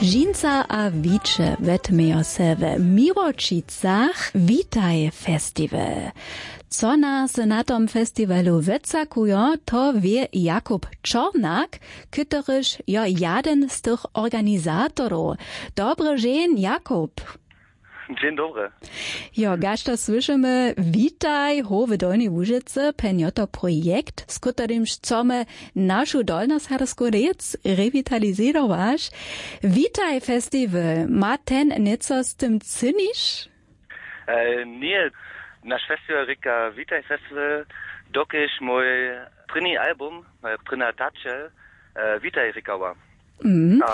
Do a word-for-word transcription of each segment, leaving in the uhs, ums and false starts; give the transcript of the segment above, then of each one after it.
Žinca a wiće wetmějo se we Miłočicach Witaj Festival. Co nas na tom festiwalu wycakujo, to wě Jakub Čornak, kytoryž jo jaden z tych organizatorow. Dobry dźeń, Jakub. Dźeń dobry. Jo, kaž to słyšimy, Witaj howe Dolnej Łužycy, pjenjoto projekt, z kótryimž chcemy našu dolnoserbsku rěc rewitalizerować. Witaj Festival, ma ten něco z tym cyniš? E, ně, naš festiwal rěka Witaj Festiwal, dokelž mój prěni album, moja prěna tačel, e, Witaj rěkała. Mhm. A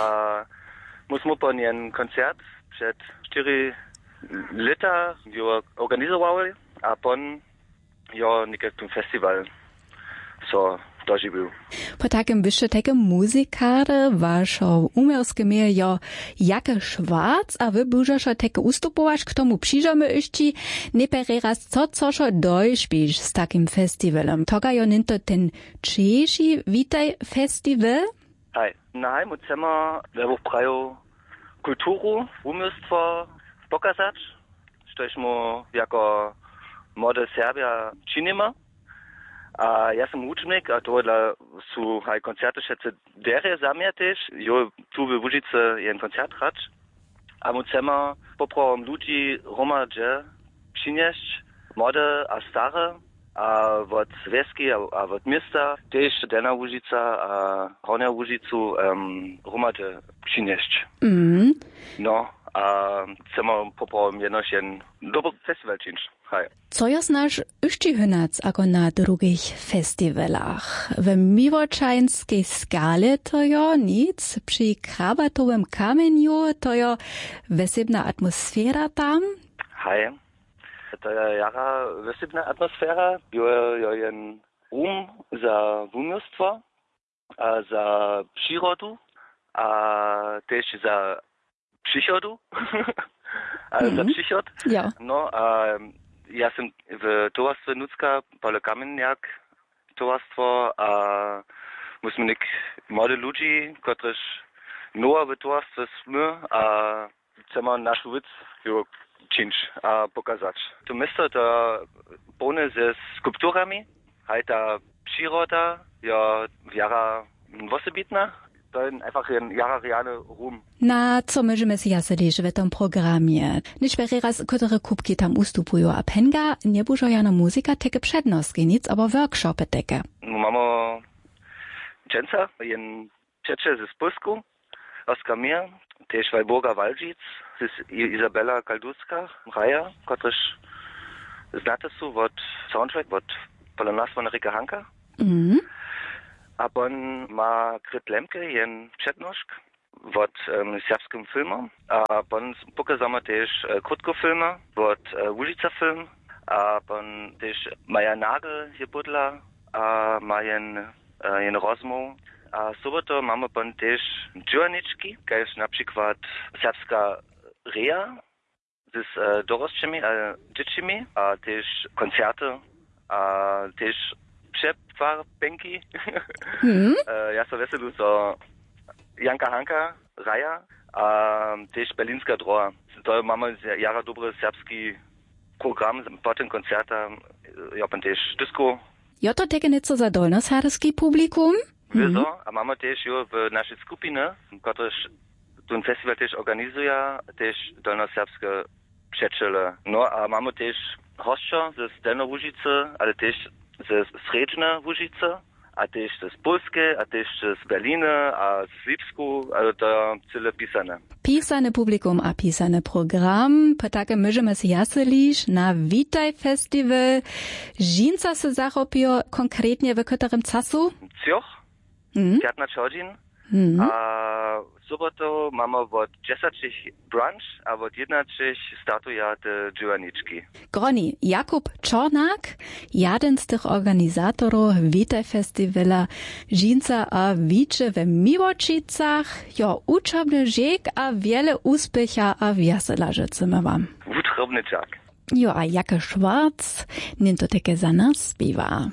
mój smupon jen koncert před štyri lěta jo organizowali a pon jo někaj ten festiwal so dožiwił. Po takim byšće tajke muzikarje, wašo uměrske mějo jo Jake Schwarz a wy bužošo tajke ustupować, k tomu přižamy yšći. Nejprjedy raz, co cošo dojšpiš z takim festiwalom? Toga jo něnto ten češi Witaj Festiwal? Haj, na hajmu chcemy we wuprajo kulturu, wuměłstwo pokazać, štož mu jako młode Serbja činimy. A ja sym wučbnik a tohodla su haj koncerty wšetcy derje za mnje tež. Jo, tu we Łužicy jen koncert hrać. A my chcemy poprawom ludźi hromadźe přinjesć, młode a stare, a wot wjeski a, a wot města, tež Delnja Łužica a Hornja Łužicu, em, hromadźe přinjesć. Mhm. No, a chcemy poprawom jenož jen dobry festiwal čińć. Haj. Co jo znaš yšći hynac ako na drugich festiwalach? W Miłočańskej skale to jo nic, při Krabatowym kamjenju to jo wjesebna atmosfera tam? Haj, to je jara wjesebna atmosfera, jo, jo, jen rum za wuměłstwo a za přirodu a tež za přichodu. A za Mhm. přichod. Jo. No a ja sym w towarstwje nutřka, Paule Kamjenjak towarstwo, a my smy něk młodych ludźi, kotrež nowa w towarstwje smy a chcemy našu wěc jo čińć a pokazać. To město to połne ze skulpturami, haj ta přiroda jo jara wosebitna. To je einfach jen jara rjany rum. Na co móžemy sej zaso tež w tom programje? Něčpjerje raz, kótre kubki tam ustupuju a penga, njebužo jano muzika teke přednostki, nic abo workshopy teke? No, mamy dźensa jen přećel z Pólsku, Oskar Mir, tež Walburga Waldžic, z Izabela Kaldulska, hraja, kotrež znate su wot soundtrack wot Pola nas wona rěka Hanka. Mhm. A pon ma Grit Lemke jen přednošk wot, em, serbskim filmom. A pon pokazamy tež, e, krótkofilmy wot, e, Łužica Film. A pon tež Maja Nagel je bydla a ma jen, e, jen rozmołw. A sobotu mamy pon tež dźěłarnički, kaž na přikład serbska reja z, e, dorosćimi a dźěćimi a tež koncerty a tež přefarbenki. Mhm. E, ja so wjeselu, zo Janka Hanka hraja a tež Berlinska droha. To mamy jara dobry serbski program. Po tym koncerta, e, jo pon tež disko. Jo to teke něco za dolnoserbski publikum? Wězo, a mamy tež jo w našej skupiny, kotrež ten festiwal tež organizuja, tež dolnoserbske přećele. No a mamy tež hosćo ze Delnjołužicy, ale tež ze Srjedźnełužicy a tež z Pólskeje a tež z Berliny a z Lipsku, ale to je cyle pisane. Pisane publikum a pisany program, po takem móžemy sej zaso liš na Witaj Festiwal. Dźensa sej zachopijo konkretnje w kóterym času? Třoch, Mhm. pjatnaće hodźin. Mhm. A sobotu mamy wot dźesaćich brunch a wot jědnaćich startuja te dźěłarnički. Groni Jakub Čornak, jeden z tych organizatorow Witaj Festiwala, dźensa a wiće we Miłočicach. Jo, wučobny dźěk a wjele wuspěcha a wjesela žytcymy wam. Wučobny dźak. Jo, a Jake Schwarz něnto teke za nas spěwa.